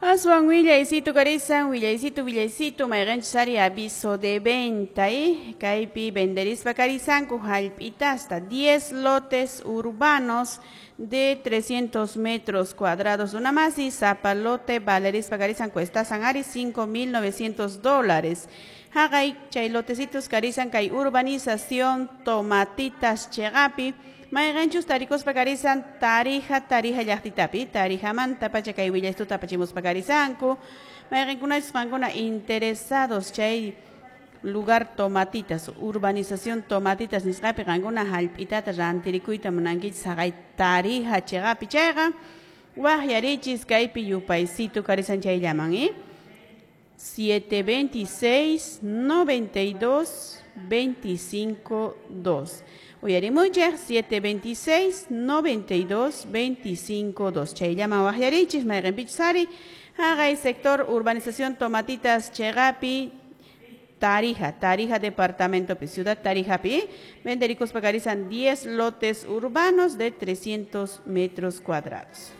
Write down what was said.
Aswan willaysitu karisan, willaysitu, willaysitu, mayqinchus ari aviso de venta, kaypi venderispa karisanku hallp'itasta 10 lotes urbanos de 300 metros cuadrados runamasi, sapa lote valerispa karisan cuestasan ari $5,900. Haqay chay lotecitos karisan kay urbanización Tomatitas chiqapi, mayqinchus tarikuspa karisan Tarija, Tarija llaqtitapi, Tarijamanta pacha kay willaystuta apachimuspa karisanku, mayqinkunachus qankuna interesados chay lugar Tomatitas, urbanización Tomatitas nisqapi qankuna hallp'itata rantirikuyta munankichis haqay Tarija chiqapi chayqa, waqyarichis kaypi yupaysitu karisan chayllaman, 726 92 25 2. Uyarimuychik 726 92 25 2. Chayllaman waqyarichis mayqinpichus ari haqay sector urbanización Tomatitas chiqapi Tarija, Tarija departamento, ciudad Tarijapi, venderikuspa karisan 10 lotes urbanos de 300 metros cuadrados.